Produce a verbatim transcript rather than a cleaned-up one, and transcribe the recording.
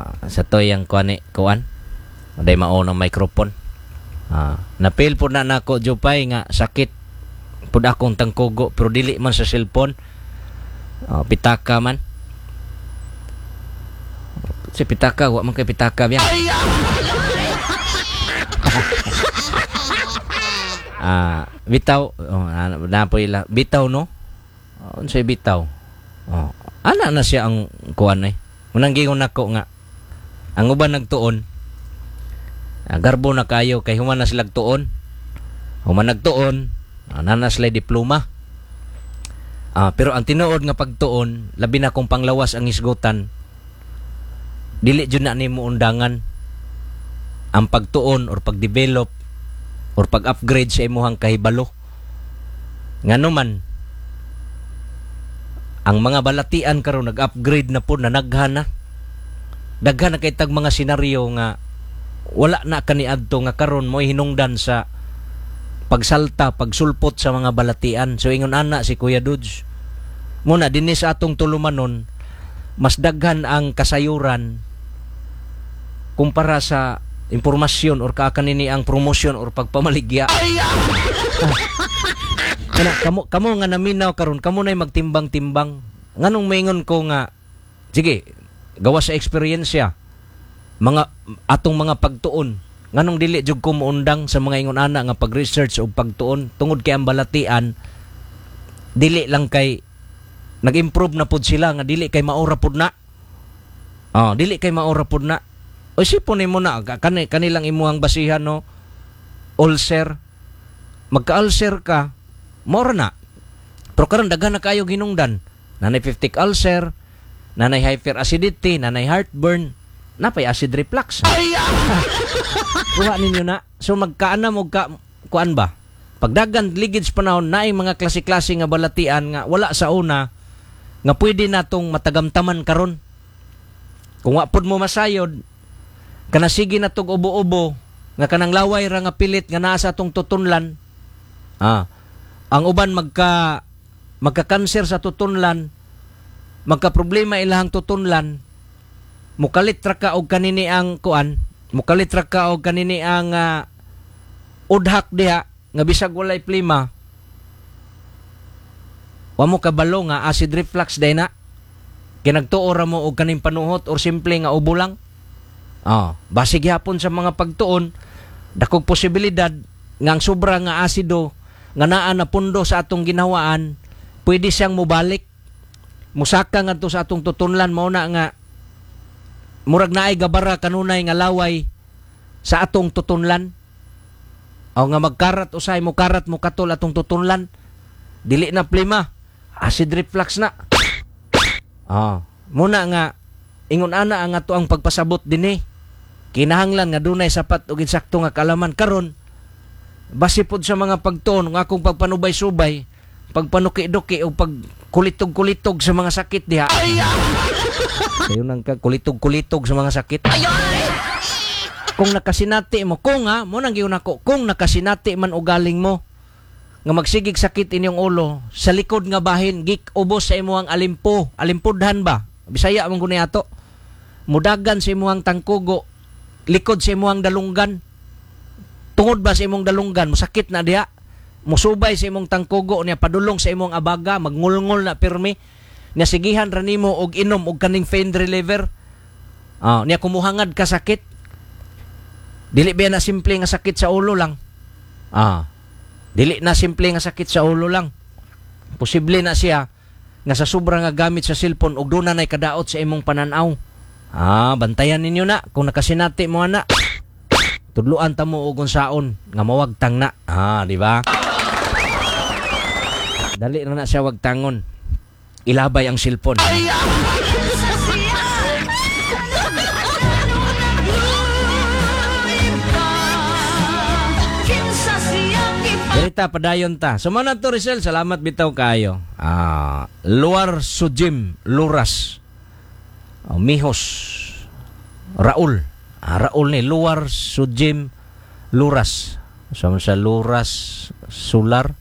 Ah, sa toyang kuan ni kuan. Day mao ng microphone. Ah, napil po na nako Jupay nga sakit pud akong tangkugo pero dili man sa cellphone. Ah, pitaka man. Si pitaka wa man kay pitaka biya. Ah, bitaw oh, na po ila bitaw no. Oh, unsay bitaw? Oh, ana na siya ang kuan eh. Unang gingon nako nga ang uban nagtuon. Ah, garbo na kayo kay human na sila tuon. Human nagtuon, ah, na na sila diploma. Ah, pero ang tinuod nga pagtuon, labi na kung panglawas ang hisgutan, dili jud na nimo undangan ang pagtuon or pagdevelop or pag-upgrade sa imuhang kahibalo. Ngano man ang mga balatian karon nag-upgrade na po na naghan na. Daghan na kay tag mga senaryo nga wala na kaniadto nga karon mo'y hinungdan sa pagsalta, pagsulpot sa mga balatian. So ingon ana si Kuya Dudes. Muna dinhi sa atong tulumanon, mas daghan ang kasayuran kumpara sa impormasyon or kaakanini ang promosyon or pagpamaligya. Kana kamo kamo nga naminaw karon, kamo nay magtimbang-timbang. Nganong maingon ko nga sige, gawa sa eksperyensya mga atong mga pagtuon, nganong dili jud ko moundang sa mga ingon ana nga pag-research o pagtuon tungod kay ang balatian dili lang kay nag-improve na pud sila nga dili kay maura pud na. Oh, dili kay maura pud na. O sipon nimo na kani kanilang imuhang basihan no, ulcer. Magka-ulcer ka, maura na. Pero karon daghan na kayo ginungdan. Nanay peptic ulcer, nanay hyperacidity, nanay heartburn, napay acid reflux. Kuha ninyo na. So magkaanam og ka kuan ba? Pagdagan ligid sa panahon naay mga klase-klase nga balatian nga wala sa una nga pwede natong matagamtaman karon. Kung wa pud mo masayod kana sige na tog ubo-ubo nga kanang laway ra nga pilit nga naa sa atong tutunlan. Ah, ang uban magka magka-cancer sa tutunlan, magka problema ilahang tutunlan, mukalit ra ka og kanini ang kuan, mukalit ra ka og kanini ang uh, udhak diha nga bisag walay plima. Wa mo kabalo nga acid reflux day na. Kinagtuo ra mo og kaning panuhot or simple nga ubo lang. Ah, basig gyapon sa mga pagtuon, dakog posibilidad nga ang sobra nga asido nga naa na pundo sa atong ginawaan, pwede siyang mobalik. Musaka ngadto sa atong tutunlan, mao na nga murag naay gabara kanunay nga laway sa atong tutunlan. O nga magkarat usay mo karat mo katol atong tutunlan. Dili na plima, acid reflux na. Ah, muna nga ingon ana ang ato ang pagpasabot dinhi. Kinahanglan nga dunay sapat ug insakto nga kaalaman karon. Base pod sa mga pagtuon nga akong pagpanubay-subay, pagpanuki-duki o pagkulitog-kulitog sa mga sakit diha. Sayo nang ka kulitog-kulitog sa mga sakit. Kung nakasinati mo, kung ha, mo nang giuna ko, kung nakasinati man ugaling mo nga magsigig sakit inyong ulo sa likod nga bahin gik ubos sa imuhang alimpo, alimpudhan ba? Bisaya man guni ato. Mudagan sa imuhang tangkugo, likod sa imuhang dalunggan. Tungod ba sa imong dalunggan, musakit na diha. Musubay sa imong tangkugo niya padulong sa imong abaga, magngulngol na pirmi. Niya sigihan ra nimo og inom og kaning pain reliever. Ah, niya kumuhangad ka sakit. Dili ba na simple nga sakit sa ulo lang? Ah. Dili na simple nga sakit sa ulo lang. Posible na siya nga sa sobra nga gamit sa cellphone og doon na nay kadaot sa imong pananaw. Ah, bantayan ninyo na kung nakasinati mo ana. Tudluan ta mo og unsaon nga mawagtang na. Ah, di ba? Dali na na siya wagtangon. Ilabay ang cellphone. Dirita padayon ta. So man to Rizal, salamat bitaw kayo. Ah, Luar Sujim Luras. Oh, Mihos Raul. Ah, Raul ni Luar Sujim Luras. So sa Luras Sular.